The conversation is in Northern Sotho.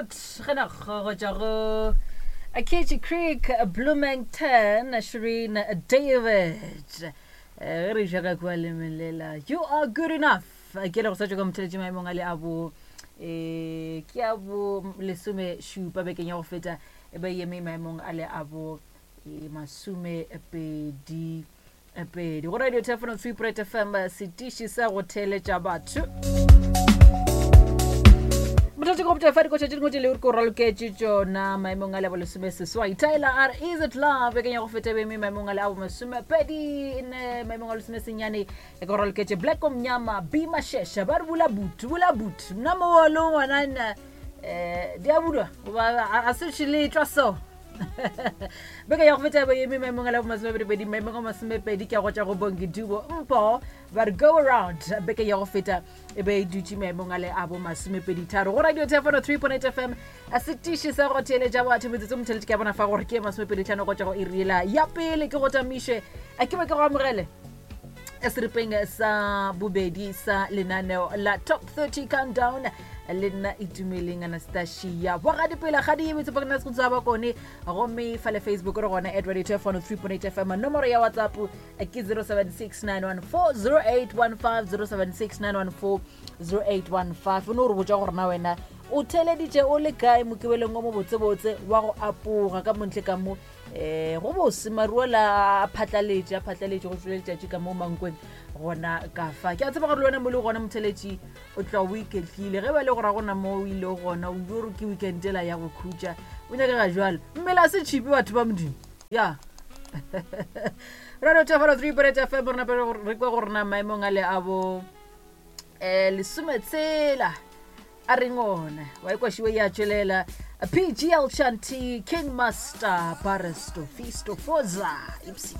Good genoeg go tšwa go Acacia Creek, Bloomington, Shireen David. Eh, ge re ja ka kua lemelela, you are good enough. Ke le go sa tšwa ka motheletši maemong a le a bo eh, ke a bo lesomešupa bekeng ya go feta e ba eme maemong a le a bo eh, masomepedi pedi go radio telefono 3 fm setiši sa go theeletša batho mothatši go botša fa dikoša tše dingwe tše le ko raloketše tšona maemong a lebo lesome seswai tyler r is it love bekeng ya go feta beme maemong a le abo masomepedi ne maemong a lesome senyane e ko raloketše black omnyama b mashesha ba re bula boot bula boot nna mo le ngwanana um di a bulwa goba a se tšhiletšwa so beke ya go feta ba eme maemong a la bomasomepedipedi maemong a masomepedi ke a go tša go bongi dubo mpho ba re go around beke ya go feta e be e dutše maemong a le a bo masomepeditharo go radio telefono 3.8 fm a setiši sa go theeletša batho metsotso motheletše ke a bona fa gore ke masomepeditlhano go tša go iriela ya pele ke go tamiše a ke be ke go amogele seripeng sa bobedi sa lenaneo la top 30 countdown le nna itumeleng anastasia bogadipela ga di emetse pakana se go bakone gomme fa le facebook re gona at radio 3.8 fm nomoro ya whatsapp ke 0769140815 0769140815 o ne o re botsa gore na wena o theleditše o le kae mokibeleng o mobotsebotse wa go apoga ka montle ka mo um go bose maruo la a phatlaletše a phatlaletše go tswele letšatši ka mo mankweng gona ka fa ke a tseba gore le wena mo le gona motheletši o tla o iketlile ge ba le gora gona mo o ile gona o ile gore ke weekend ela ya go khutša o nyakega jalo mmele a se tšhipi batho ba modimo ya radio thefalo 3 point fm re nape re kwe gore na maemong a le a bo um lesometshela a reng ona wa ikwašiwe ya tšwelela pgl shanti king master baresto fisto foza ipsy.